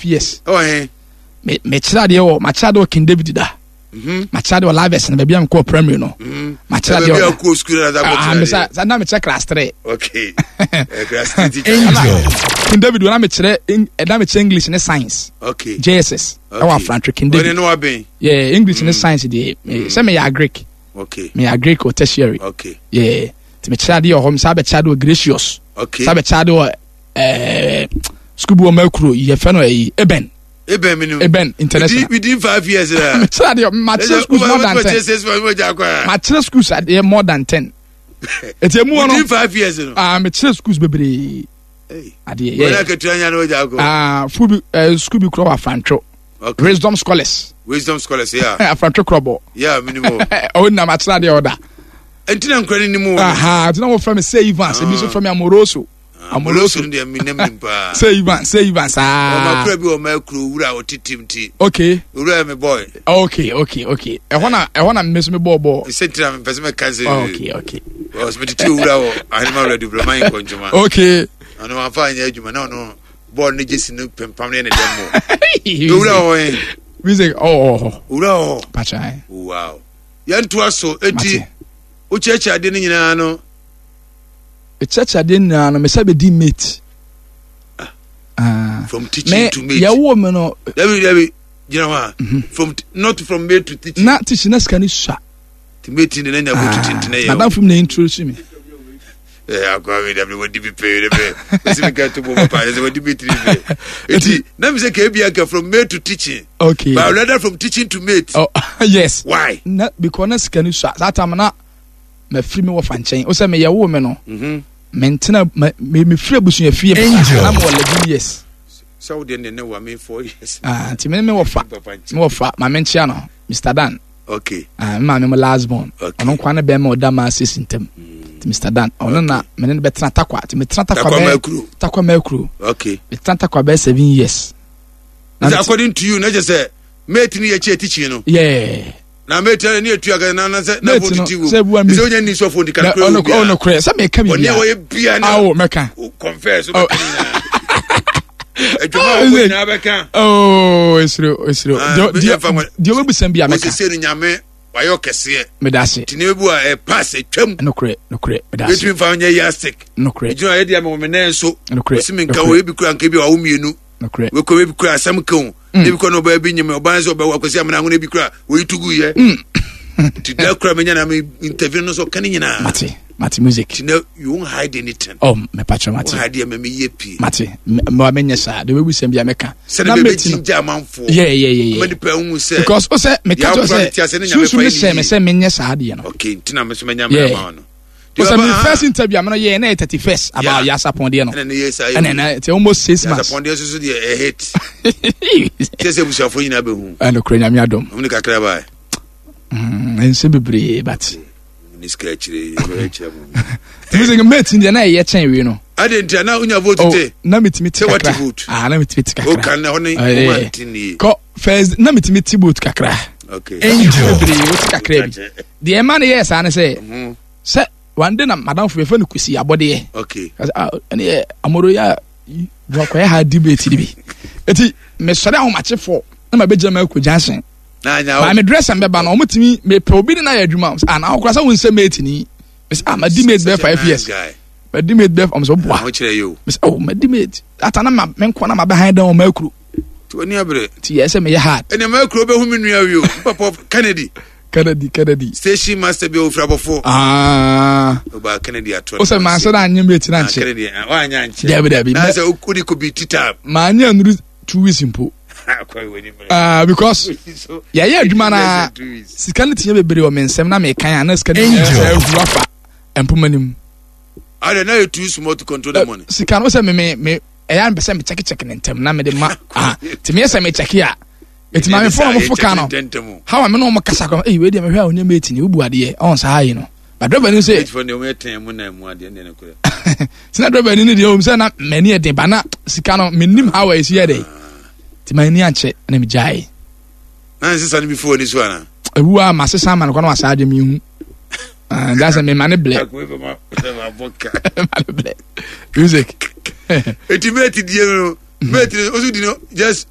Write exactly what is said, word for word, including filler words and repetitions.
years. Ɛwɔ he? Me mekyerɛ adeɛ wɔ, makyerɛ adeɛ wɔ King David da. Mhm. Makyerɛ adeɛ wɔ Laves no, baabi a mekɔɔ primary no. Mhm. Makyerɛ adeɛ baabi a wɔ wokɔɔ sukuu na Ah, kɔkyerɛ mesa adeɛ. sa na mekyerɛ class three. Okay. Eh, class three teacher. Angel. King David wɔ na mekyerɛ Eng- eh, na mekyerɛ English ne science. Okay. J S S ɛwɔ Afrantwe, King Ɔne David. ne wabɛn. Yeah, English ne science deɛ, me- sɛ meyɛ agric. Okay. Meyɛ agric wɔ tertiary. Okay. Yeah, nti mekyerɛ adeɛ wɔ hɔ, mesa bɛkyerɛ adeɛ wɔ Gracious. Okay. Sa bɛkyerɛ adeɛ wɔ ɛɛ sukuu bi wɔ Makuro, yɛfɛ no ɛyi, Eben. Eben mi ni. Eben International. Within, within five years na. Mekyerɛ adeɛ, makyerɛ schools more than ten. Makyerɛ schools adeɛ more than ten. Eti emu wɔ Within no five years no. Ah, mekyerɛ schools bebree Hey. adeɛ. Wɔn Yeah. akatua nya na wɔgya akɔ. Ah, fu bi ɛɛ school bi kura wɔ Afrantwo. Okay. Wisdom Scholars. Wisdom Scholars, yeah. Afrantwo Krɔbɔ. Yeah, minimum. Ɔwɔ nam akyerɛ adeɛ ɔda. Nti na nkura ni ni mu. Aha, nti na wɔfrɛ me Sɛ Evans, ebi nso frɛ me Amoroso. Amoroso no deɛ mi nam nim paa. Sɛ Evans, Sɛ Evans Ɔma aa. kura bi wɔ ɔma kuro wura a ɔte tim ti. Okay. Owura yɛ mi boy. okay okay okay ɛhɔ na ɛhɔ na mme so me bɔɔ bɔɔ. Sɛ ntina mi pɛ sɛ mɛ kan sɛ. okay okay Ɔsɛ mi tete owura wɔ Ahenema Radio Bulama yi nkɔntwoma. Okay Ɔno wafa anyɛ adwuma na ɔno bɔɔl ne gyesi no pempam ne yɛ ne dɛm mo. Owura wɔ hɔ. Music ɔwɔ hɔ. Owura wɔ hɔ. Patra. Wow. Yɛntoa so eti Mate. wokyerɛkyerɛ adeɛ no nyinaa no. Ɛkyerɛkyerɛ adeɛ nyinaa no, mesɛ bɛdi mate. Ah. From teaching Me to mate. yɛwɔ me no. Dabi dabi, gyina hɔ a. From not from mate to teaching. Na teaching na sika no sua. Ti mate ne na nya go to tintine yɛ. Madam fim na introduce me. Eh, akwa mi dabi wadi bi pɛ de pɛ. Osi mi ka to bo papa sɛ wadi bi tiri pɛ. Eti na mi sɛ ka ebi aka from mate to teaching. Okay. But rather from teaching to mate. Oh, yes. Why? Na because na sika no sua saa time na mafiri me wɔfa nkyɛn o sɛ meyɛwoo me no, Mhm. mentena me me- mefiri abusua fie Angel. na mewɔ eleven years. Sɛ wo deɛ ne ne wa me four years. Ah, nti me ne me wɔfa Papa nkyɛn. me wɔfa maame nkyea no, Mister Dan. Okay. Ah, me maame mo last born. Okay. Ɔno nkwa ne bɛrima a ɔda maa sisi ntam, nti Mister Dan ɔno na me ne no bɛtena Takwa, nti metena Takwa Takwa bɛyɛ Makuro. Takwa Makuro. Okay. Metena Takwa bɛyɛ seven years. Na Sɛ mete- according to you na kyɛ sɛ mate ni yɛ kyɛ teaching no. Yeah. Na mate ni etu aka na na sɛ na Mate fo no, titi wo. sɛ ebua Sɛ onya ni sɔfo ndi Na kakra ɔno obi a. ɔno korɛ sɛ meka Ɔne a biribiara. wɔyɛ bia na. Awo mɛka. Wo confess Oh. wobɛka nyinaa. Adwuma a wɔbɔ nyinaa bɛka. Oh, esiro esiro. Ah, Deɛ me- deɛ yɛmfa nwa- deɛ ɔbɛbusa bi a mɛka. Wosese no Nyame wayɛ ɔkɛseɛ. Meda ase. Nti ne bi a ɛ pass atwam. Nokorɛ, nokorɛ, meda ase. Yɛtumi mfa nyɛ yardstick. Nokorɛ. Egyina yɛ deɛ mewɔ me nan so. Nokorɛ, Osi mi nka nokorɛ. wo ebi kura nka bi a wawo mmienu. Nokorɛ. Wekɔ ebi kura asɛm ka o. Ebi kura na ɔbaa bi nyim ɔbaa nso ɔbɛwɔ akɔsi amena ahono ebi kura oyi tugu yɛ. Nti da kura menya na me interview no so ɔka ne nyinaa. Mate, mate, music. Nti na you won't hide anything. Oh, mepatwa, mate. Won't hide yɛ mɛ meyɛ pii. Mate, mɛ menyɛ saa deɛ ɔbɛbusa bi a mɛka. Sɛde Na bɛbɛ mate no gyingya amanfoɔ. yeah yeah yeah Ama yeah nipa ehu sɛ. Because o sɛ meka Deɛ kyerɛ akora te ase sɛ ne Nyame sunsun fa ne yɛ hyɛ ne me yie. sɛ menyɛ saa adeɛ no. Okay, nti na me so menya Yeah. mmerɛ ma wo no. O sɛ me Ah, first interview a me no yɛ na yɛ thirty first about Yeah. Yasapɔn deɛ no. Ɛna ne yɛ saa yɛ. Ɛna ɛna nti almost six months. Yasapɔn deɛ soso deɛ ɛ hit. Kyɛ sɛ abusuafoɔ nyinaa bɛhu. Ɛna kura Nyame adom. Ɔmo ne kakra baa. Mm, nsɛm bebree but Ne sika akyire yɛbɛyɛ kyerɛ mo. Nti sɛ mate deɛ na ɛyɛ kyɛn wei no. Ade nti a na wonya vote Oh, te. na metumi te Sɛ wate kakra. vote. Ah, na metumi te kakra. Woka na hɔ ne Oh, yeah. woma nte nie. Kɔ first na metumi te vote kakra. Okay. Angel. Bebree wote kakra bi deɛ ɛma no yɛɛ saa ne sɛ Mhm. sɛ one day na madamfo yɛfɛ no Kwesi Abɔdeɛ. Okay. Ka sɛ, ah, ɛne yɛ amoro yɛ a wakɔyɛ ha debate de bi, eti mesɔre ahomakyefoɔ na mabɛgyina ma akɔ junction. Na anya maa me dress mbɛba no, ɔmo mepɛ obi ne na yɛ adwuma. Ah, na ɔkora sɛ wo nsɛ mate ni. Mesɛ, ah, madi mate bɛɛ five years. Guy. Madi mate bɛɛ, ɔmo sɛ ɔboa. Ahokyerɛ yi o. Mesɛ, oh, madi mate ata na ma me nkɔ na ma bɛhan dan ɔmo akuro. Nti w'ani abere. Nti yɛ sɛ meyɛ hard. Ɛnna mɛ kuro bɛhu me nua wi o. Papa Kennedy. Kennedy, Kennedy. Station master bi a ofiri abɔfo. Ah. Ɔbaa Kennedy ato. O sɛ maa sɛ na anyɛ mate na Ah, nkyɛ. Kennedy ah, wanyɛ ankyɛ. Dabi, dabi. Na sɛ wode kɔ bi tita. Maa nyɛ nuru two weeks mpo. Akɔ w'ani mmerɛ. Ah, because So, yɛyɛ adwuma na two weeks. Sika no tiɲɛ bebree wɔ me nsɛm na mekan a na sika no Angel. sɛ ahu afa mpoma no mu. Ade na yɛ too small to control the money. Sika no sɛ me me me ɛyɛ a mepɛ sɛ mekyɛkekyɛke ne ntɛm na mede ma, ah, nti meyɛ sɛ mekyɛke a ɛti maame fo a ɔmofo ka no how a me ne ɔmo kasa kɔ, ɛyi wei deɛ mehwɛ a ɔnyɛ mate ni wobu adeɛ ɔn saa yi no, but driver ni sɛ Eight deɛ ɔmo yɛ tɛn mu na mu adeɛ ne ne korɛ. Sina driver ni ne deɛ ɔm sɛ na m'ani yɛ den ba na sika no menim how a ɛsi yɛ dɛ, nti m'ani ankyɛ na megyae. Na nsesa no bi fo w'ani so ana? Ewu a masesa ama no kɔ na wasa agye mehu nda sɛ mema ne blɛ. Akɔ efe ma ma bɔ ka. Ma ne blɛ music. Eti mate die no, mate no osu di no just